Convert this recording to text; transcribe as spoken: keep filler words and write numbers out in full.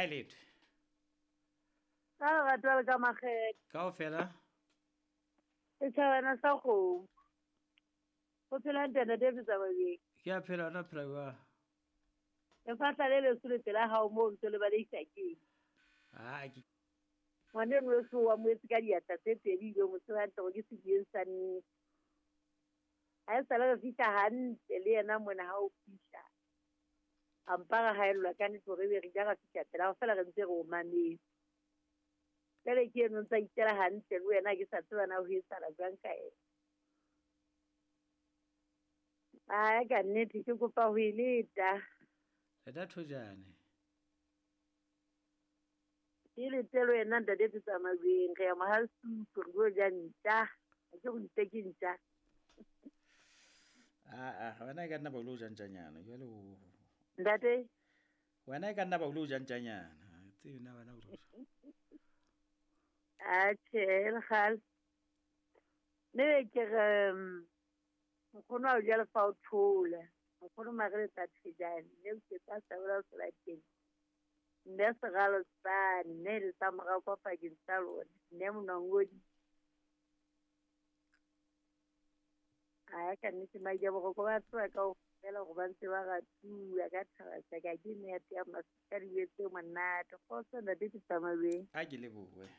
Ha e letho. Ka lerato le ka makgethe. Kaofela. Setjhabana sa kgomo. Ho phela hantle Ntate Tsamabeng. Ke a phela, wena o phela jwang? Lefahla le leso le pela hao moo ntse le baleisa keng? Ha ke Ngwaneno weso wa mo etse ka diatla tse pedi ebile o mo tseba hantle hore ke sediyeng sa nnete. Ha esale re fihla hantle le yena mona ha o fihla. A mpa ra haellwa ka nnete hore ebe re ile ra fihla pela hao feela re ntse re o mametse. Jwale ke eno o ntsa itjela hantle le wena ke sa tseba na ho etsahala jwang ka yena. Ai ka nnete ke kopa ho e leta. Leta thojane. Ke lete le wena Ntate Tsamabeng re ya Mohalesupu re lo ja ntja. Ha ke go itse ke ntja. Ah ah, wena e ka nna ba o lo ja ntjanyana jwale o. Ntate? Wena e ka nna ba o lo ja ntjanyana. Ha tsebe na wena o lo ja. Atjhe, le kgale. Mme ke re nkgono ha o ja lefa o thole. Nkgono mare le tla thejane. Mme o ke tsa sabola o teng. Mme seralo tsane, mme le tsa morao kwa pakeng tsa lona. Mme monangodi. Ai ka nnete maija boroko ba tseba kaofela hore ba ntse ba ratuwa ka thaba tsa ka ke nete ya masika dijo tse monate. Kgotso Ntate Tsamabeng. Ha ke lebohe.